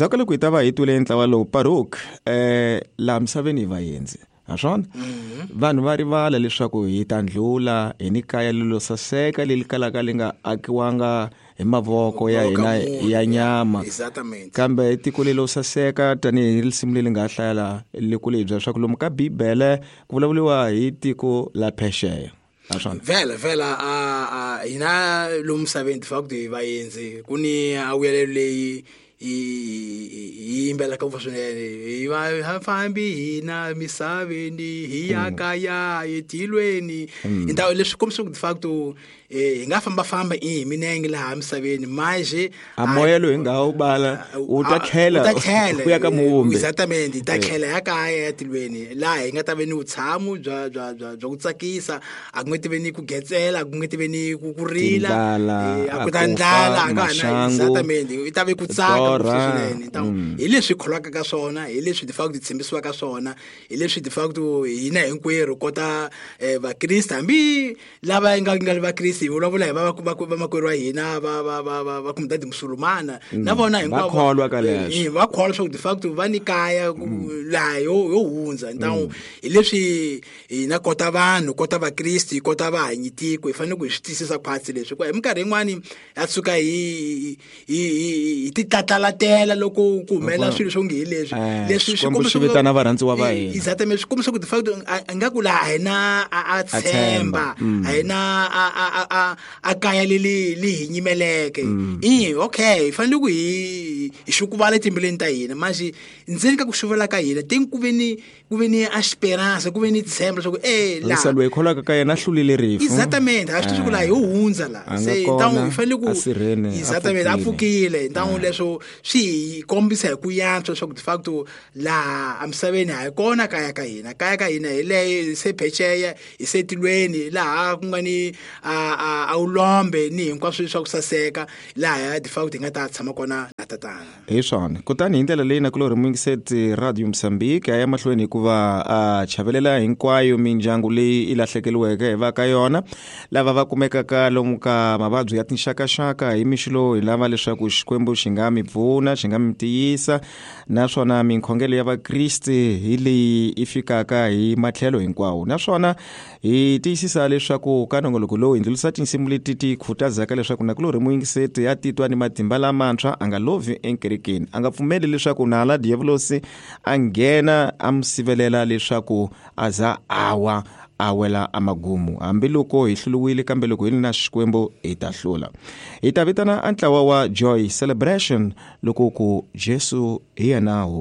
Endzhaku ka loko hi ta va hi twile ntlawa lowu Paruk, laha misaveni hi vaendzi, ha swona? Vanhu va rivala leswaku hi ta ndlula hi ni kaya lelo saseka leri kalaka li nga akiwanga hi mavoko ya hina ya nyama. Kambe tiko lelo saseka tanihi risimu leri nga hlaya la loko leyi bya leswaku lomu ka Bibele ku vulavuriwa hi tiko la phexeya. Vhela vhela a hina lomu misaveni de facto hi vaendzi, ku ni a vuyelelo leyi hi yimbelaka ngopfu swinene, hi va fambi hina misaveni hi ya kaya etilweni. Hi leswi kombisa ku de facto hi nga fambafamba hi minenge laha misaveni, manje a moya lowu hi nga wu bala wu ta tlhela ku ya ka muvumbi. Exactamente, hi ta tlhela ya kaya ya tilweni, laha hi nga ta ve ni vutshamo bya bya bya bya ku tsakisa, a ku nge ti ve ni ku getsela, a ku nge ti ve ni ku rila, a ku ta ndlala, a ka ha na. Exactamente, i ta ve ku tsaka swinene. Hi leswi hi kholwaka ka swona, hi leswi de facto hi tshembisiwaka swona, hi leswi de facto hina hinkwerhu kota vakriste, hambi lava nga nga ri vakriste, hi vulavula hi vamakwerhu wa hina va va va va va kumbe musulumana, na vona hinkwavo va kholwa ka leswo, va kholwa leswaku de facto va ni kaya laha yo hundza. Ntawu hi leswi hina kota vanhu, kota vakriste, kota vahanyi tiko, hi fanele ku hi swi twisisa khwatsi leswi, hikuva hi minkarhi yin'wani ya tshuka hi hi hi titlatlalatela loko ku humelela swilo swo nge hi leswi leswi swi kombisa vitana varhandziwa va hina. Exactamente, swi kombisa ku de facto a nga ku laha hina a tshemba, a hina a a kaya leli li hi nyimeleke. Okay, hi fanele ku hi xukuvala etimbilwini ta hina, manje ndzeni ka ku xuvela ka hina teng ku ve ni esperanza, ku ve ni tshemba leswaku laha loyi kholwaka ka yena a hlulile rifu. Exactamente, a swi tivi ku laha hi hundza la se ntawu hi fanele ku exactamente a pfukile. Ntawu leswo swi hi kombisa hi ku yantswa leswaku de facto laha emisaveni a hi kona kaya ka hina, kaya ka hina hi leyo se phexeya, hi se tilweni, laha ku nga ni a wulombe ni hinkwaswo swa ku saseka, laha de facto hi nga ta tshama kona na tatana. Hi swona. Kutani hi ndlela leyi nakulorhi muyingiseti, Radio Mozambique a ya mahlweni hikuva a chavelela hinkwayo mindyangu leyi i lahlekeriweke hi va ka yona, lava va kumekaka lomu ka mavabyi ya tinxakaxaka. Hi mixo lowu hi lava leswaku Xikwembu xi nga mi pfuna, xi nga mi tiyisa, naswona minkhongelo ya vakriste hi leyi i fikaka hi matlhelo hinkwawo. Naswona hi tiyisisa leswaku ka nongoloko lowu hi ndlulisa tinsimu leti ti khutazaka leswaku nakulorhi muyingiseti ya titwa ni matimba lamantshwa, a nga lovhi enkerekeni, a nga pfumeli leswaku nala diyavulosi a nghena a mu sivelela leswaku a za awa a wela amagumu. Hambiloko hi hluriwile, kambe loko hi ri na Xikwembu hi ta hlula. Hi ta vitana a ntlawa wa Joy Celebration loko ku Jesu hi yena.